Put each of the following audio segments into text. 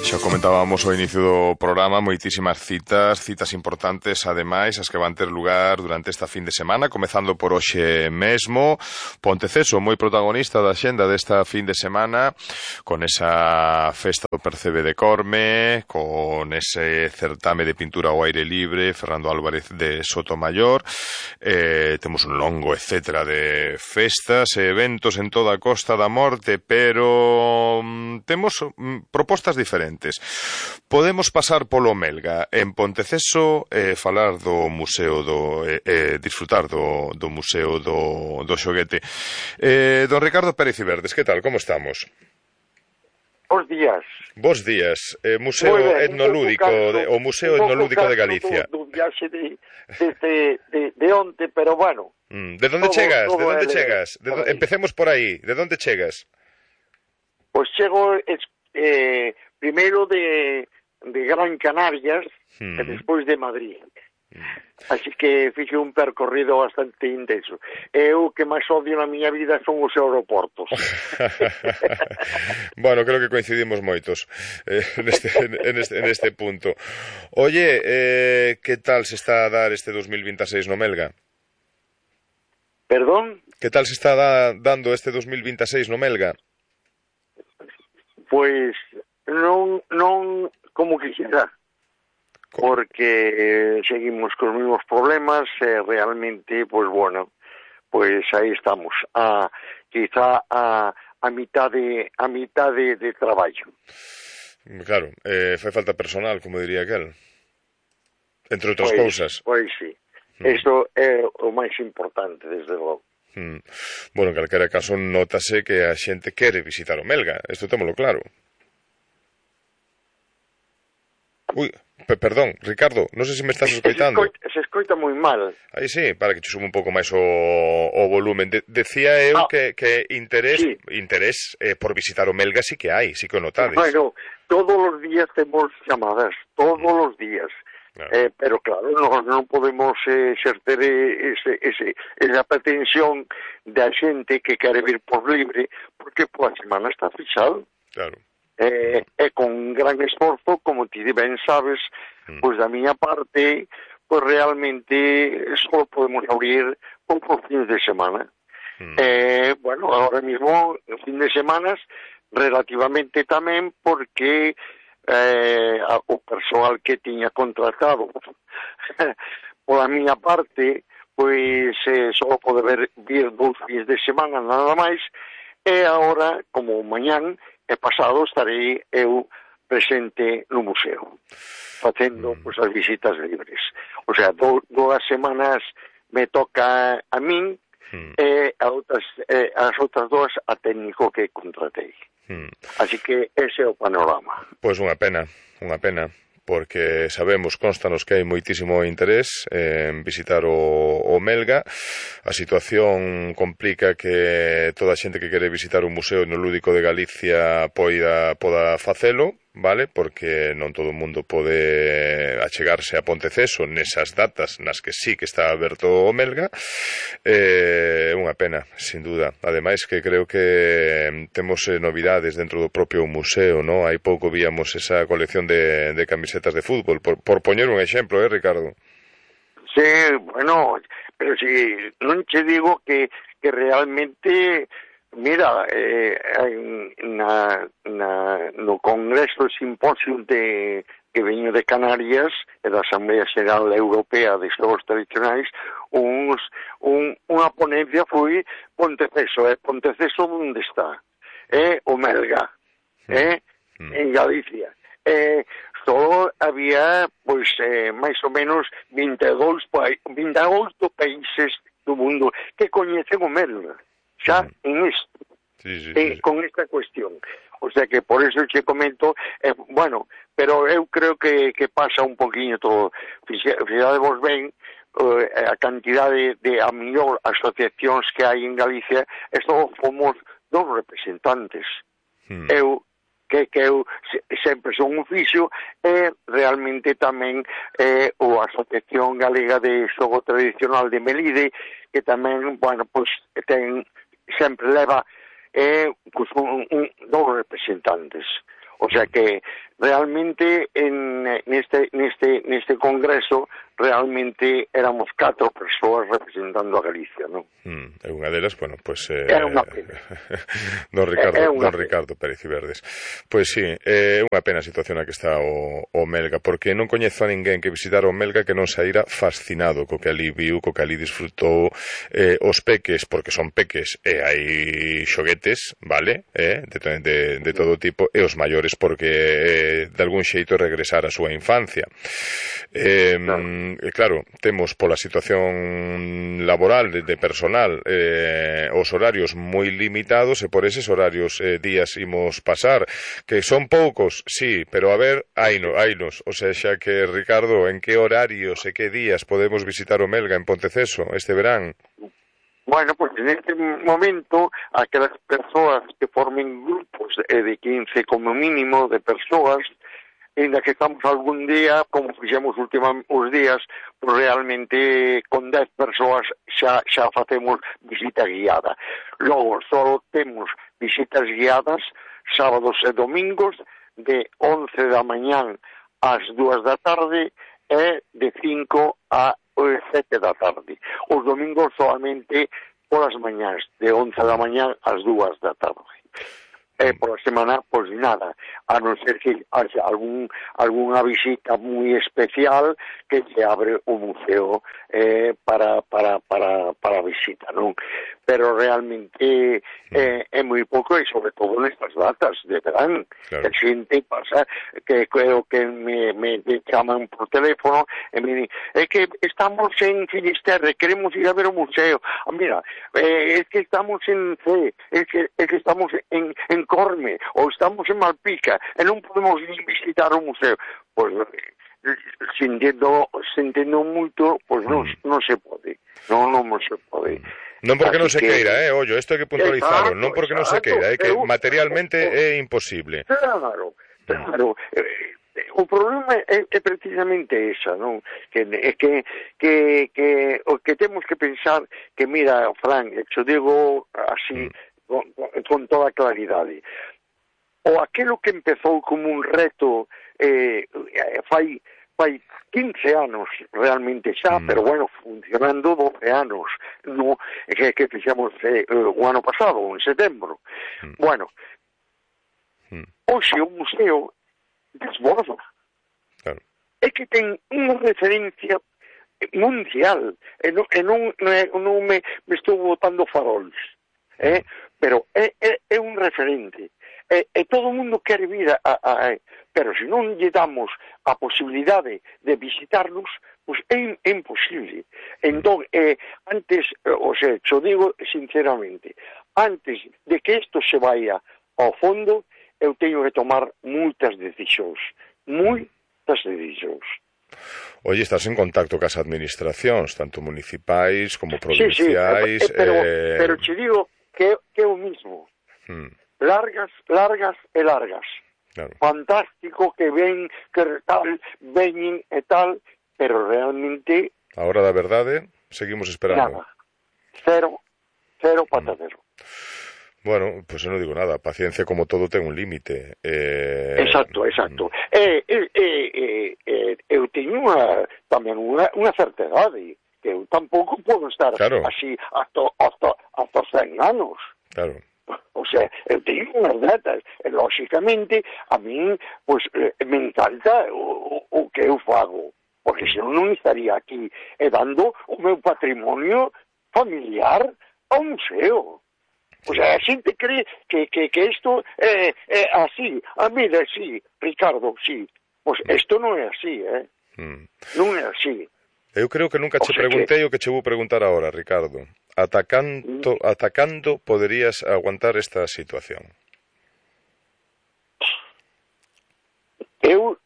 Xa comentábamos ao inicio do programa moitísimas citas importantes, ademais, as que van ter lugar durante esta fin de semana, comezando por hoxe mesmo. Ponteceso, moi protagonista da xenda desta fin de semana, con esa festa do Percebe de Corme, con ese certame de pintura ao aire libre, Fernando Álvarez de Sotomayor. Temos un longo etcétera de festas e eventos en toda a Costa da Morte, pero temos propostas diferentes. Podemos pasar polo Melga en Ponteceso e falar do museo disfrutar do museo do xoguete. Don Ricardo Pérez Iverdes, que tal? Como estamos? Bos días. Bos días. Museo etnolúdico, o Museo Etnolúdico de Galicia. Do viaxe de onte, pero bueno. De onde chegas? De onde chegas? Empecemos por aí. De onde chegas? Pois chego primeiro de Gran Canarias e despois de Madrid. Así que fixe un percorrido bastante intenso. Eu que máis odio na miña vida son os aeroportos. Bueno, creo que coincidimos moitos neste punto. Oye, que tal se está a dar este 2026 no Melga? Perdón? Que tal se está dando este 2026 no Melga? Pois non como quixera, porque seguimos con os mesmos problemas e realmente, pois bueno, pois aí estamos, quizá a mitade de traballo. Claro, fai falta personal, como diría aquel, entre outras cousas. Pois sí, isto é o máis importante, desde logo. Bueno, en calquera caso, nótase que a xente quere visitar o Melga, isto témolo claro. Ui, perdón, Ricardo, non sei se me estás escoitando. Se escoita moi mal. Aí sí, para que te suba un pouco máis o volumen. Decía eu que interés por visitar o Melga sí que hai, sí que o notades. Bueno, todos os días temos chamadas, todos os días. Claro. Pero claro, non podemos exercer esa pretensión da xente que quere vir por libre, porque a semana está fixado. Claro. E con gran esforzo, como ti ben sabes, pois da miña parte, pois realmente só podemos abrir por fines de semana. Bueno, ahora mismo, fin de semanas, relativamente tamén, porque o persoal que tiña contratado pola miña parte, pois só pode vir 2 fines de semana nada máis, e agora, como mañán e pasado, estarei eu presente no museo, facendo pois, as visitas libres. O sea, 2 semanas me toca a min e as outras 2 a técnico que contratei. Así que ese é o panorama. Pois unha pena, porque sabemos, constanos que hai moitísimo interés en visitar o Melga. A situación complica que toda a xente que quere visitar un museo etnolúdico de Galicia poda facelo, vale? Porque non todo o mundo pode achegarse a Ponteceso nesas datas nas que sí que está aberto o Melga. Unha pena, sin duda. Ademais que creo que temos novidades dentro do propio museo, ¿no? Hai pouco víamos esa colección de camisetas de fútbol, por poñer un exemplo, Ricardo? Sí, bueno, pero si non che digo que realmente, mira, no Congreso Simposio que veño de Canarias e da Asamblea Xeral Europea de Xogos Tradicionais, unha ponencia foi Ponteceso. Ponteceso onde está? O Melga, en Galicia. Só había, pois, máis ou menos 22 países do mundo que coñecen o Melga, xa en isto, con esta cuestión. O sea que por eso che comento, bueno, pero eu creo que pasa un poquinho todo. Fixadevos ben a cantidade de a mellor asociacións que hai en Galicia, e só fomos 2 representantes. Eu sempre son un fixo, e realmente tamén a Asociación Galega de Xogo Tradicional de Melide, que tamén, bueno, pois sempre leva 2 representantes. O sea que realmente neste congreso realmente éramos 4 persoas representando a Galicia, non? E unha delas, bueno, pois era unha pena. Don Ricardo Pérez Iverdes. Pois sí, é unha pena a situación na que está o Melga, porque non coñezo a ninguén que visitara o Melga que non saíra fascinado co que ali viu, co que ali disfrutou, os peques, porque son peques, e hai xoguetes, vale, de todo tipo, e os maiores porque de algún xeito regresar á súa infancia. Claro, temos pola situación laboral de personal os horarios moi limitados, e por eses horarios días imos pasar, que son poucos, sí, pero a ver, hainos, o sea, xa que, Ricardo, en que horarios e que días podemos visitar o Melga en Ponteceso este verán? Bueno, pues en este momento, aquelas persoas que formen grupos de 15 como mínimo de persoas, ainda que estamos algún día, como fixemos os días, pues realmente con 10 persoas xa facemos visita guiada. Logo, só temos visitas guiadas sábados e domingos de 11 da mañán ás 2 da tarde e de 5 a 7 da tarde. Os domingos solamente polas mañás, de 11 da mañán ás 2 da tarde. Por a semana, pois nada, a non ser que haxa algunha visita moi especial que se abre o museo para visita, non? Pero realmente é moi pouco, e sobre todo nestas datas de verán, claro. Que a xente pasa, que creo que me chaman por teléfono e me di, é que estamos en Finisterre, queremos ir a ver o museo. Mira, é que estamos en C, é que estamos en Corme, ou estamos en Malpica, e non podemos visitar o museo. Pois, se entendo moito, pois non se pode. Non se pode. Non porque non se queira, ollo, isto hai que puntualizarlo, non porque non se queira, é que materialmente é imposible. Claro. O problema é precisamente esa, non? Que o que temos que pensar, que mira, Fran, xo digo así, con toda claridade. O aquelo que empezou como un reto fai 15 anos realmente xa, pero bueno, funcionando 12 anos, no, que fixemos o ano pasado, en setembro. Bueno, hoxe o museo desborda. Claro. É que ten unha referencia mundial, e non me estou botando farols, pero é un referente, e todo o mundo quere vir pero se non lle damos a posibilidade de visitarnos, pois é imposible. Entón, antes, xo digo sinceramente, antes de que isto se vaya ao fondo, eu teño que tomar moitas decisións. Oye, estás en contacto cas administracións, tanto municipais como provinciais. Sí, pero che digo que é o mismo. Largas. Claro. Fantástico que ven, que tal, veñen e tal, pero realmente... A hora da verdade, seguimos esperando. Nada. Cero patadero. Bueno, pues eu non digo nada, paciencia como todo ten un límite. Exacto. Eu teño tamén unha certa idade, que eu tampouco podo estar así hasta 100 anos. Claro. O sea, eu teño unhas datas, e lóxicamente a min, pues, me encanta o que eu fago, porque senón non estaría aquí dando o meu patrimonio familiar ao museo. O sea, a xente cree que isto é así. Mira, sí, Ricardo, sí. Pois isto non é así, Non é así. Eu creo que nunca che preguntei o que che vou preguntar agora, Ricardo. Ata cando poderías aguantar esta situación? Eu,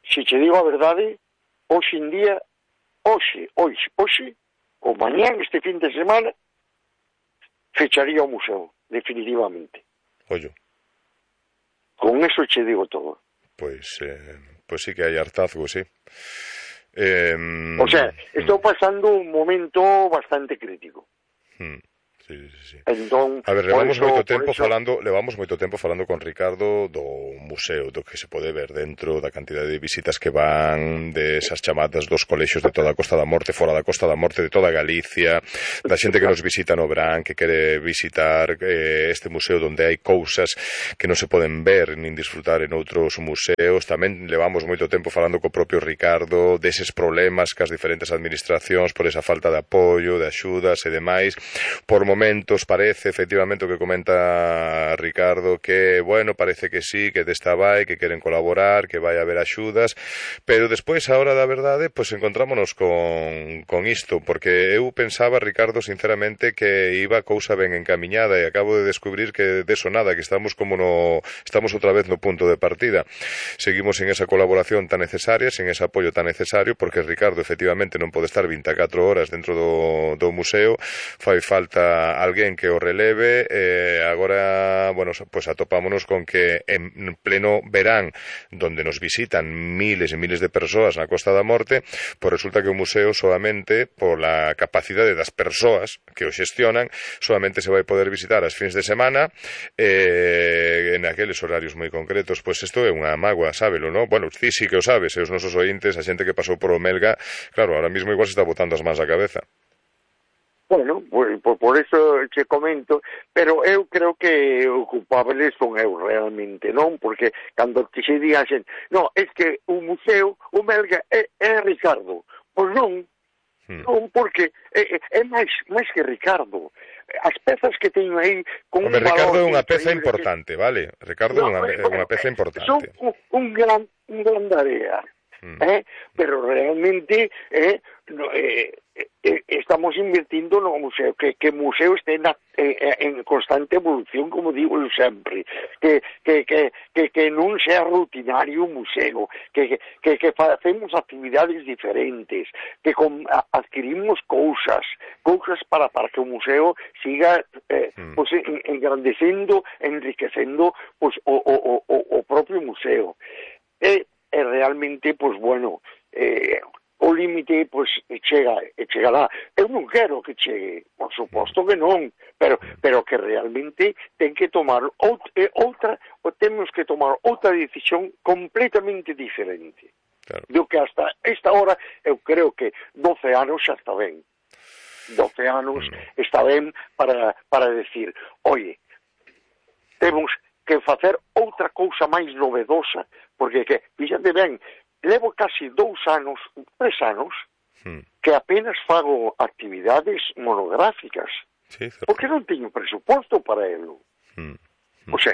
se che digo a verdade, hoxe en día, hoxe, ou mañán, este fin de semana, fecharía o museo, definitivamente. Ollo. Con eso che digo todo. Pois sí que hai hartazgo, sí. O sea, estou pasando un momento bastante crítico. Sí, sí, sí. Entón, a ver, levamos moito tempo falando con Ricardo do museo, do que se pode ver dentro, da cantidad de visitas que van, de esas chamadas dos colexios de toda a Costa da Morte, fora da Costa da Morte, de toda Galicia, da xente que nos visita no Brán, que quere visitar este museo onde hai cousas que non se poden ver nin disfrutar en outros museos. Tamén levamos moito tempo falando co propio Ricardo deses problemas que as diferentes administracións por esa falta de apoio, de axudas e demais. Por momentos parece, efectivamente, o que comenta Ricardo, que, bueno, parece que sí, que desta vai, que queren colaborar, que vai haber axudas, pero despois, a hora da verdade, pois encontrámonos con isto, porque eu pensaba, Ricardo, sinceramente, que iba a cousa ben encamiñada e acabo de descubrir que deso nada, que estamos outra vez no punto de partida. Seguimos en esa colaboración tan necesaria, sen ese apoio tan necesario, porque Ricardo, efectivamente, non pode estar 24 horas dentro do museo, fai falta alguén que o releve. Agora, bueno, pues atopámonos con que en pleno verán, donde nos visitan miles e miles de persoas na Costa da Morte, pues resulta que o museo solamente, pola capacidade das persoas que o xestionan, solamente se vai poder visitar as fins de semana, en aqueles horarios moi concretos. Pues isto é unha mágoa, sábelo, non? Bueno, ti sí que o sabes, e os nosos ointes, a xente que pasou por o Melga, claro, ahora mismo igual se está botando as mans á cabeza. Bueno, por eso che comento, pero eu creo que o culpable son eu realmente, non? Porque cando se dixen, no, es que o museo, o Melga é Ricardo. Pois non, non, porque é máis que Ricardo. As pezas que teño aí con un valor... Ricardo é unha peza importante, vale? Ricardo é unha peza importante. Son un gran área. Pero realmente estamos invirtiendo no museo, que o museo este en constante evolución, como digo eu sempre, que non sea rutinario o museo, que facemos actividades diferentes, que adquirimos cousas para que o museo siga pues, engrandecendo, enriquecendo pues, o propio museo. Realmente, pues bueno, o límite, pues, chegará. Eu non quero que chegue, por suposto que non, pero que realmente ten que tomar temos que tomar outra decisión completamente diferente. Claro. Do que hasta esta hora, eu creo que 12 anos xa está ben. 12 anos está ben para decir, oye, temos que facer outra cousa máis novedosa, porque, fíxate ben, levo casi 2 anos, 3 anos, que apenas fago actividades monográficas, porque non teño presuposto para elo. O sea,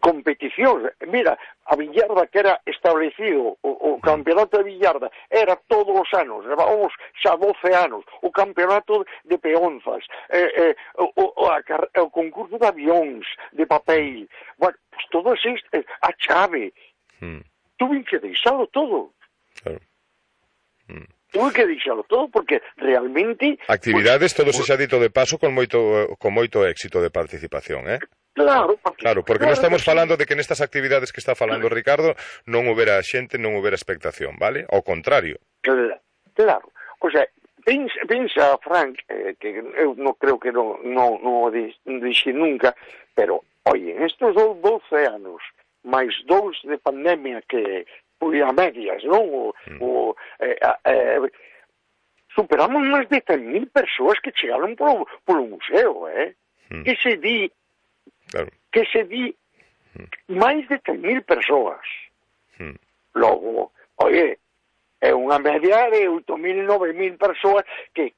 competicións, mira, a billarda que era establecido, o campeonato de billarda, era todos os anos, levábamos xa 12 anos, o campeonato de peonzas, o concurso de avións, de papel, bueno, pues todo isto, a chave, tuve que deixalo todo. Claro. Tuve que deixalo todo porque realmente... Actividades, todo se xa dito de paso, con moito éxito de participación, Claro, porque non estamos falando de que nestas actividades que está falando Ricardo non houbera xente, non houbera expectación, vale? Ao contrario. Claro. O sea, pensa, Frank, que eu non creo que non o dixe nunca, pero, oye, en estos 12 anos, máis 2 de pandemia que foi a medias, non? Superamos máis de 100.000 persoas que chegaron polo museo, Que se di máis de 100.000 persoas. Logo, oye, é unha media de 8.000, 9.000 persoas que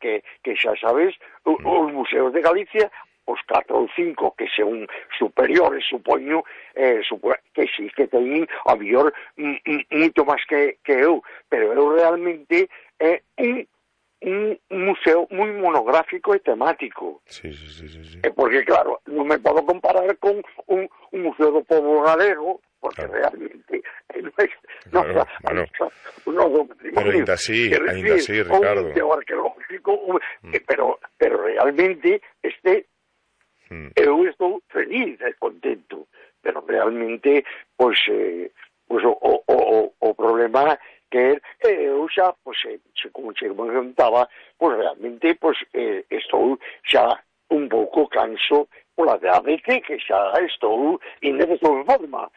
xa sabes, os museos de Galicia, os 4 ou 5 que son superiores, supoño, que sí, que teñen a mellor moito máis que eu, pero eu realmente é un museo moi monográfico e temático. Sí. Porque, claro, non me podo comparar con un museo do povo galego, porque realmente pero ainda así, Ricardo. Un museo arqueológico, pero realmente eu estou feliz e contento, pero realmente, pois o problema que eu como che comentaba, pois realmente, pois estou xa un pouco canso pola idade que xa estou e non estou en forma.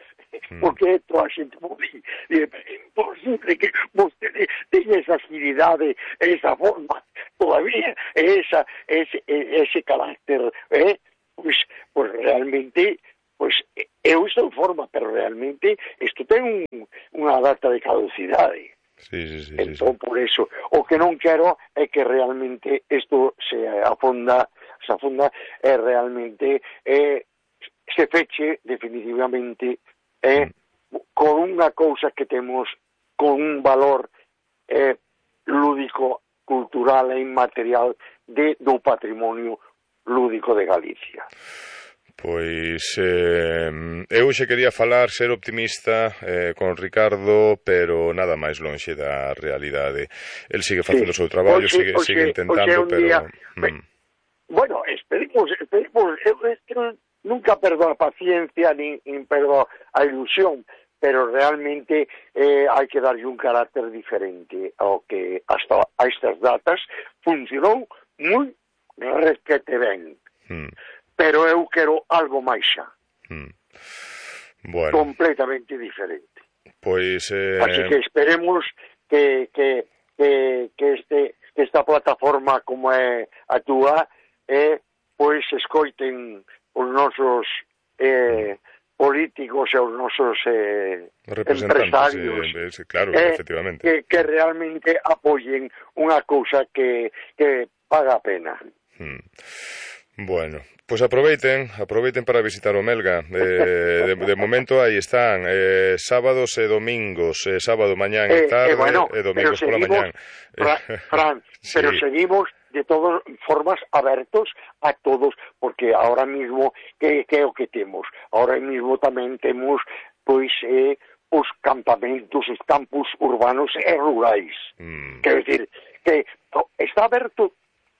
Porque toda a xente é imposible que vostede teña esa agilidade, esa forma todavía, ese carácter, pues realmente, pues eu estou en forma, pero realmente isto ten unha data de caducidade. Sí. Entón, por eso, o que non quero é que realmente isto se afunda realmente se feche definitivamente con unha cousa que temos con un valor lúdico, cultural e inmaterial do patrimonio lúdico de Galicia. Pois eu xe quería falar, ser optimista con Ricardo, pero nada máis lonxe da realidade. El sigue facendo o seu traballo, sigue intentando, pero... Bueno, esperemos, eu nunca perdo a paciencia nin perdo a ilusión, pero realmente hai que darlle un carácter diferente ao que hasta a estas datas funcionou moi requete ben. Pero eu quero algo máis xa. Bueno. Completamente diferente. Pois... Así que esperemos que esta plataforma como é a túa pois escoiten os nosos políticos e os nosos empresarios, claro, efectivamente, que realmente apoyen unha cousa que paga a pena. Bueno, pois aproveiten para visitar o Melga. De momento aí están, sábados e domingos, sábado mañán e tarde e domingos pola mañán. Fran, pero seguimos de todas formas abertos a todos, porque ahora mismo que é o que temos? Ahora mismo tamén temos pois os campamentos, os campus urbanos e rurais. Quero decir que está aberto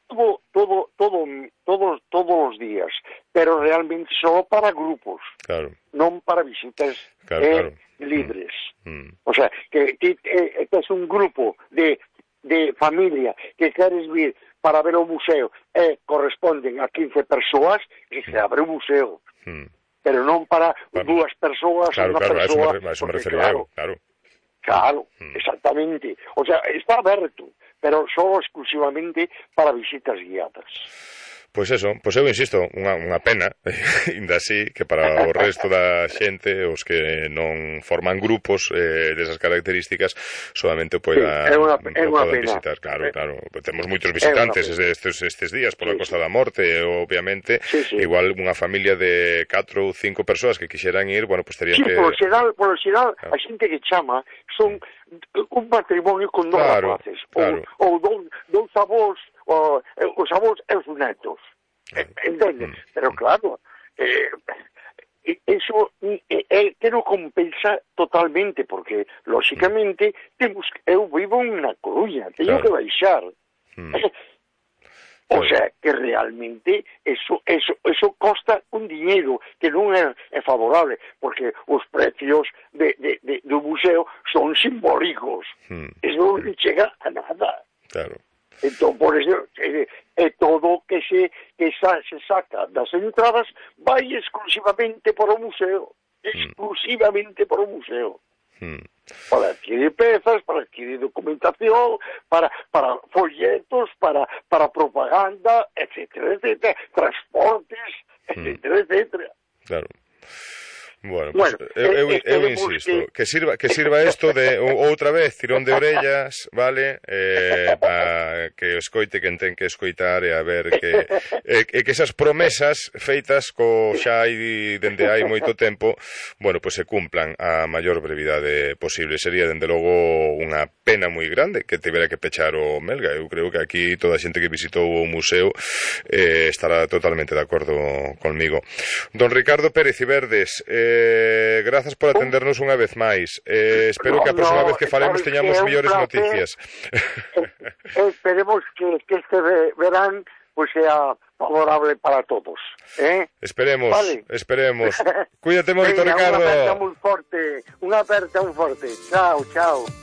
todos os días, pero realmente só para grupos, non para visitas libres. O sea, que es un grupo de familia que queres vir para ver o museo e corresponden a 15 persoas e se abre o museo. Pero non para dúas persoas, unha persoa. Eso me refería eu, claro. Claro, exactamente. O sea, está aberto, pero só exclusivamente para visitas guiadas. Pois eso, pois eu insisto, unha pena, ainda así, que para o resto da xente, os que non forman grupos desas características, solamente poidan visitar. Claro, temos moitos visitantes estes días pola Costa da Morte, obviamente, igual unha familia de 4 ou 5 persoas que quixeran ir, bueno, pois terían que... Polo xeral, a xente que chama son un matrimonio con dos rapaces, ou dous avós, os avós e os netos, entende? Pero claro, eso que non compensa totalmente, porque lógicamente eu vivo en unha Coruña, teño que baixar. O sea, que realmente eso costa un dinheiro que non é favorable, porque os precios do museo son simbólicos. Eso non chega a nada. Claro. Entón, por eso, todo que se saca das entradas vai exclusivamente para o museo. Exclusivamente para o museo. Para adquirir pezas, para adquirir documentación, para folletos, para propaganda, etcétera, transportes, etcétera. Claro. Bueno, pues, eu insisto, que sirva isto de outra vez, tirón de orellas, vale, para que escoite quen ten que escoitar e a ver que esas promesas feitas xa hai dende hai moito tempo, bueno, pues se cumplan a maior brevidade posible. Sería, dende logo, unha pena moi grande que tivera que pechar o Melga. Eu creo que aquí toda a xente que visitou o museo estará totalmente de acordo conmigo. Don Ricardo Pérez Iverdes, grazas por atendernos unha vez máis. Espero que a próxima vez que falemos teñamos mellores noticias. Esperemos que este verán pues sea favorable para todos. Esperemos, vale. Esperemos. Cuídate moito, Ricardo. Unha aperta moi forte. Chao, chao.